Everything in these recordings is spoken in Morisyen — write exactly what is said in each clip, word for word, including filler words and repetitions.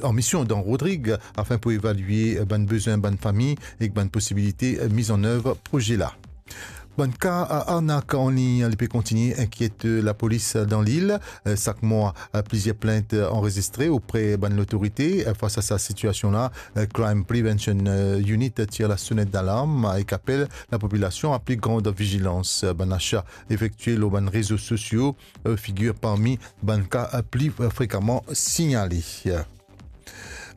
an mision dan Rodrig afin pou evalie bann bezwin bann fami ek bann posibilite miz an nev proze la. Bann ka arnak an lign, li pe kontigne inkiet lapolis dan lil. Sak mwa, plizier plint anrezistre opre bann lotorite. Fas a sa sitiasion la, Crime Prevention Unit tir lasonet dalarm ek apel lapopilasion a pli gran vizilans. Bann asa efektie lor bann rezo sosio figir parmi bann ka pli frekaman signale.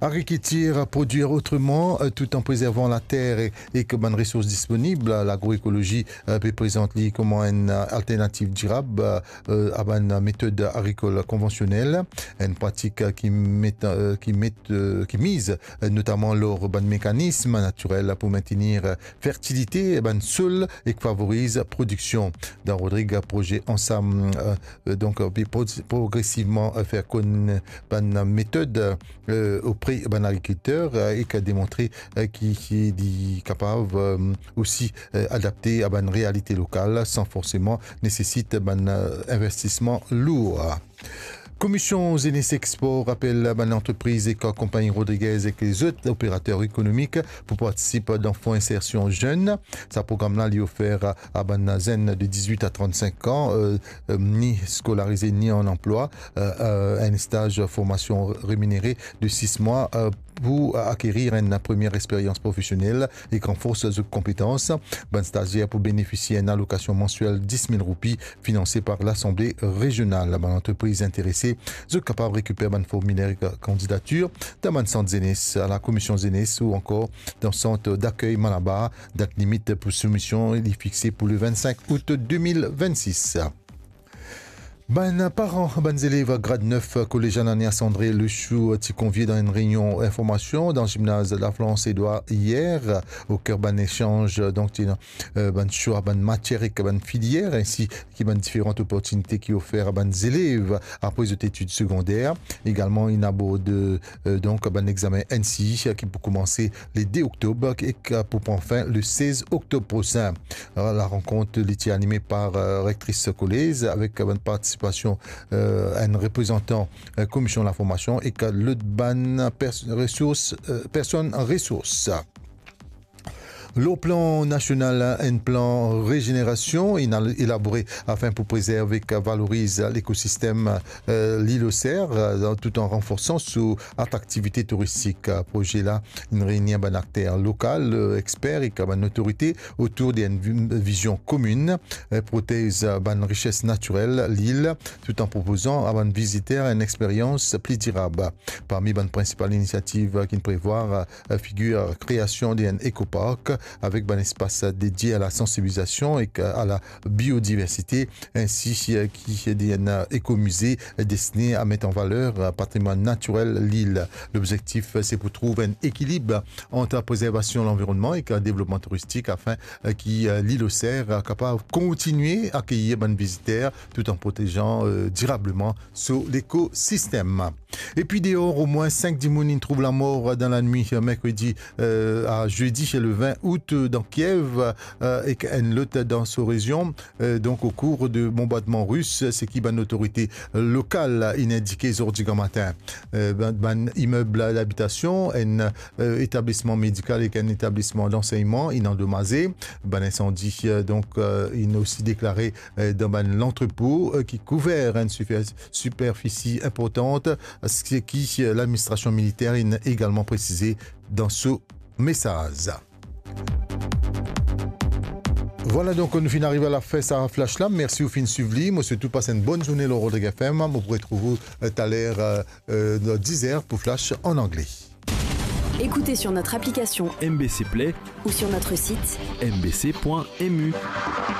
Agrikiltir, prodwir otreman, tout an prezervan later ek bann resours disponib. Lagroekolozi pe prezant li kouma enn alternativ dirab a bann metod agrikol konvansionel, enn pratik ki met, ki met, ki miz notaman lor bann mekanism natirel pou mentenir fertilite bann sol ek favoriz prodiksion. Dan Rodrig, proze Ansam, donk, pe pro-, progresivman fer konn bann metod opre bann agrikilter ek demontre ki, ki li kapav osi adapte a bann realite lokal san forseman nesesit bann investisman lour. Komisyon Zenes ek Spor apel bann lantrepriz ek konpagni Rodriguez ek lezot operater ekonomik pou partisip dan Fon Insersion Zenn. Sa program la li ofer a bann zenn de dizwit a trannsenk an, ni skolarize ni an anplwa, enn staz formasion reminere de sis mwa pou akerir enn premie experyans profesionel ek ranfors zot konpetans. Bann stazier pou benefisie enn alokasion mansiel dis mil roupi finanse par Lasanble Rezional. Bann lantrepriz interese, zot kapav rekiper bann formiler kandidatir dan bann sant zenes, a la Komisyon Zenes ou ankor dan sant dakey Malabar. Dat limit pou soumision li fixe pou le vennsenk out de mil vennsis. Bann paran bann zelev grad nef kolez Ananias André Lechou ti konvie dan enn reynion informasion dan zimnaz Lafrans Edward iyer. Oker bann esanz, donk, ti ena bann swa bann matier ek bann filier, ensi ki bann diferan loportinite ki ofer a bann zelev apre zot etid segonder. Egalman, inn abord, donk, bann examen N C E ki pou koumanse le de oktob ek pou pran fin le sez oktob prosin. Larenkont li ti anime par rektris kolez avek bann partisipasion enn reprezantan Komisyon Laformasion ek lot bann pers-, resours, personn resours. Lor plan nasional, enn plan rezenerasion inn al-, elabore afin pou prezerv ek valoriz lekosistem Lil Oser, tout an ranforsan so atraktivite touristik. Proze la inn reini bann akter lokal, exper ek bann otorite otour de enn vi-, vizion komin, protez bann rises natirel lil, tout an propozan a bann viziter enn experyans pli dirab. Parmi bann prinsipal inisiativ ki'nn prevwar, figir kreasion de enn ekopark avek bann espas dedie a la sansibilizasion ek a la biodiversite, ensi ki de enn ekomize destine a met an valer patrimwann natirel lil. Lobzektif se pou trouv enn ekilib ant prezervasion lanvironnman ek devlopman touristik afin ki Lil Oser kapav kontigne akeyir bann viziter tout an protezan dirableman so lekosistem. Epi deor, omwin sink dimoun inn trouv lamor dan lanwit merkredi a zedi le vin out dan Kiev, ek enn lot dan so rezion, donk o kour de bonbardman ris, seki bann otorite lokal inn indike zordi gramatin. Bann, bann imeb labitasion, enn etablisman medikal ek enn etablisman lansegnman inn andomaze. Bann insandi, donk, inn osi deklare dan bann lantrepo ki kouver enn sifer-, siperfisi inportan, seki ladministrasion militer inn egalman presize dan so mesaz. Vwala, donk, nou finn ariv a lafin sa flash la. Mersi ou finn swiv li. Mo swet ou pas enn bonn zourne lor Rodrig F M. Mo pou retrouv ou taler, euh, euh, diz er pou flash an angle. Écoutez sur notre application M B C Play ou sur notre site M B C point M U.